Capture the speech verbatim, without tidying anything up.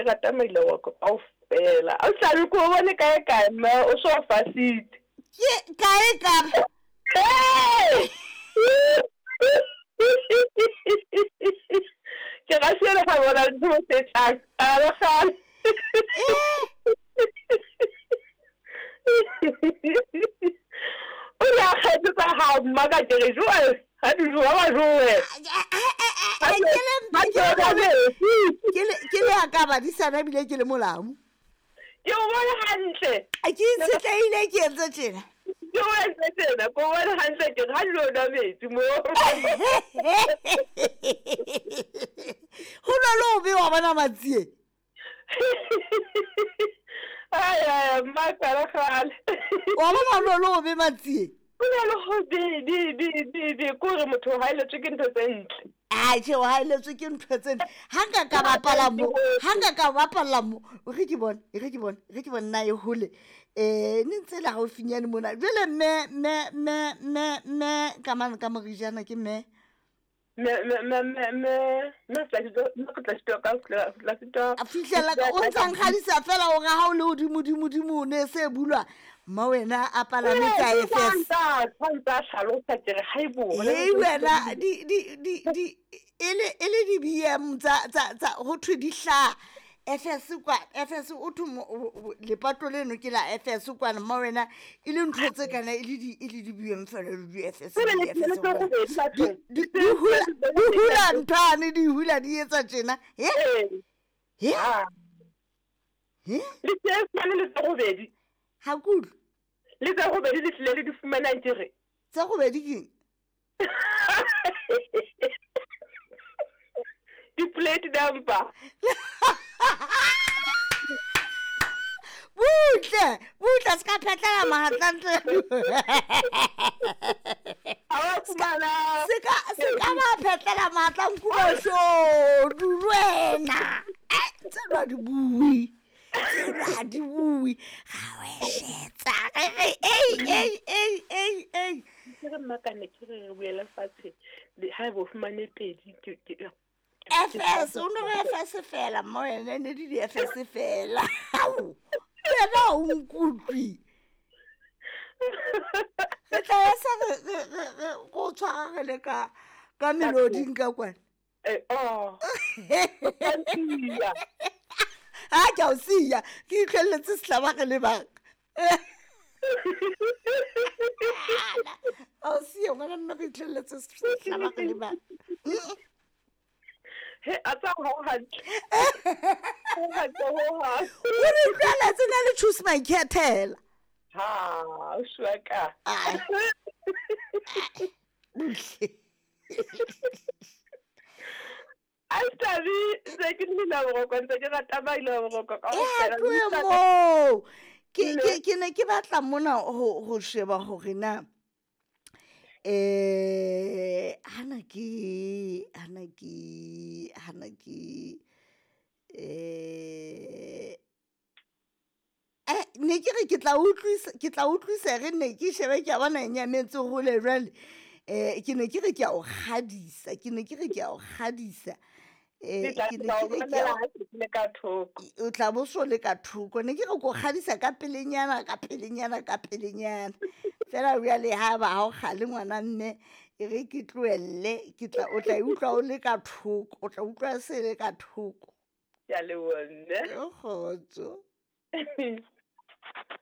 rata maila wa ka kaofela. O tla re ko bone kae kae mme o so fasitse. Ke kae ka? Hey! Ke ga se le ga bona ntho tse tlang. A le gale. O re a kgethe tsa hao mma ka ke re jwale ha di jowa ba jowe. Ke le ke le a ka badisana ebile ke le molamu. Ke o bone hantle. A ke itshetleile ke entse tjena. Ke o entse tjena, ke o bone hantle ke re ha di lo nwa metsi mo. Ho na le ho be wa bona Matsie. Ai ai mma kgale kgale. Wa bona ho na le ho be Matsie. Ho na le ho be be be be be ko re motho o haelletswe ke ntho tse ntle. Ai tjhe o haelletswe ke ntho tse ntle. Ha nka ka bapala mo, ha nka ka bapala mo, o re ke bone, e re ke bone, e re ke bone na e hole. Eh ne ntse le haufinyane mona. Jwale mme mme mme mme mme ka mane ka morijana ke mme. Me me me me me me tla sitwa A fihlela ka o ntsa nkgadisa fela hore ha o le hodimo dimo dimo ne se bulwa. Mma wena a palame tsa F S. Tsa hlalosa ke re haibo. Hei wena di di di di e le e le di B M tsa tsa tsa ho thwe di hla F S kwa F S o thwe lepato leno ke la F S kwana mma wena e le ntho tse kana e le di e le di B M fela le di F S di F S di di hula di hula nthwane di hula di etsa tjena he he he le tse le tse robedi ha kutlwe le tse robedi le tlile le di fumanang ke re tse robedi keng di plate number butle butle se ka phetlela mahatla ntle se ka se ka ba phetlela mahatla nkuba shodu wena tse ba di bui tse di bui ga we shetsa ei ei ei ei ei ke re mmakane ke re re buela fatshe ha bo fumane pedi ke F S o no F S fela mo ene ne di F S fela wena o nkutlwi re tla ya sa re re go tshwara re le ka ka meloding ka kwana eh oh ha ke o siya ke itlelletse sehlaba re le bang o siya ngwana mme re itlelletse sehlaba re le bang he a tsa ho hantle ho hantle ho ha o re utlweletse na le choose my khethela ha o shwaka a tabi se ke nna boroko ntse ke rata maile boroko ka o fela mo ke ke ke ne ke batla mona ho ho sheba hore na eh hana ke hana ke hana ke eh eh ne ke re ke tla utlwisa ke tla utlwisa re ne ke shebe ke a bona e nyametse hole jwale eh ke ne ke re ke a o kgadisa ke ne ke re ke a o kgadisa eh ke ne ke re ke le ka thoko o tla bo so le ka thoko ne ke re ko kgadisa ka pelenyana ka pelenyana ka pelenyana fela jwale ha ba ha o kgale ngwana mme e re ke tlohelle ke tla o tla utlwa o le ka thoko o tla utlwa se le ka thoko ya le wona o kgotso.